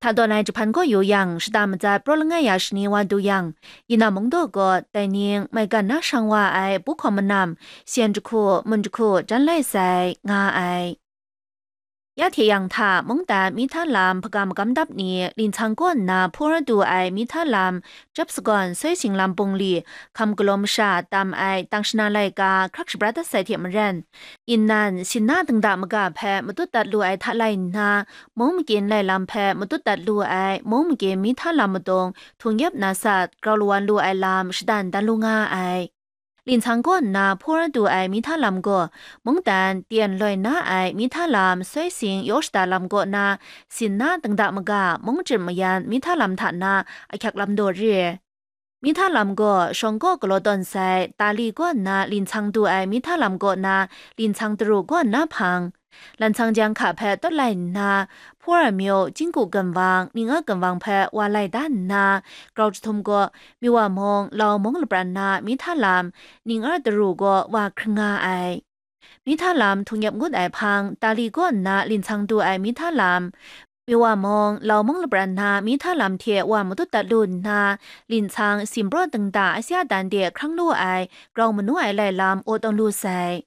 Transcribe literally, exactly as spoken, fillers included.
Hta dawn ai jahpan gaw yu yang, shada matsat praw langai ya shani wa du yang, Yina mungdaw gaw, dai ning, maigan na shang wa ai, bu hkawm manam, syen jahku, mun jahku, jan lai sai, nga ai. Ya hte yang hta, mungdan mihta lam hpagam magam dap ni, linhtsang kaw nna hpur du ai mihta lam, jap sagawn soi sing lam bungli, hkam galaw masha tam ai tang shana laika hkrak shabrat dat sai hte maren, inan, sinna dingda maga hpe matut dat lu ai hta lai nna, mung magyin lai lam hpe matut dat lu ai mung magyin mihta lam madung htung yep na sat grau lawan lu ai lam shadan dan lu nga ai. Linhtsang kaw nna hpur du ai mihta lam gaw, mungdan tyen loi na ai mihta lam soi sing yaw shada lam kaw na, sinna dingda maga mung jim mayan mihta lam hta na ahkyak lam daw re. Mihta lam gaw shawng kaw galaw tawn sai, tali kaw nna linhtsang du ai mihta lam kaw na, linhtsang daru kaw na hpang, lanhtsang jang hka hpe tawt lai nna, hpur amyu, jingku ginwang, ning a ginwang hpe wa lai da nna, grau jahtum kaw, miwa mung, lau mung lapran na mihta lam, ning a daru kaw wa hkring nga ai. Mihta lam htung yep ngut ai hpang, tali kaw nna linhtsang du ai mihta lam, miwa mung, lau mung lapran na mihta lam hte wa matut dat lu nna, linhtsang simpraw dingda asya dan de hkrang lu ai, grau manu ai lai lam aw tawn lu sai.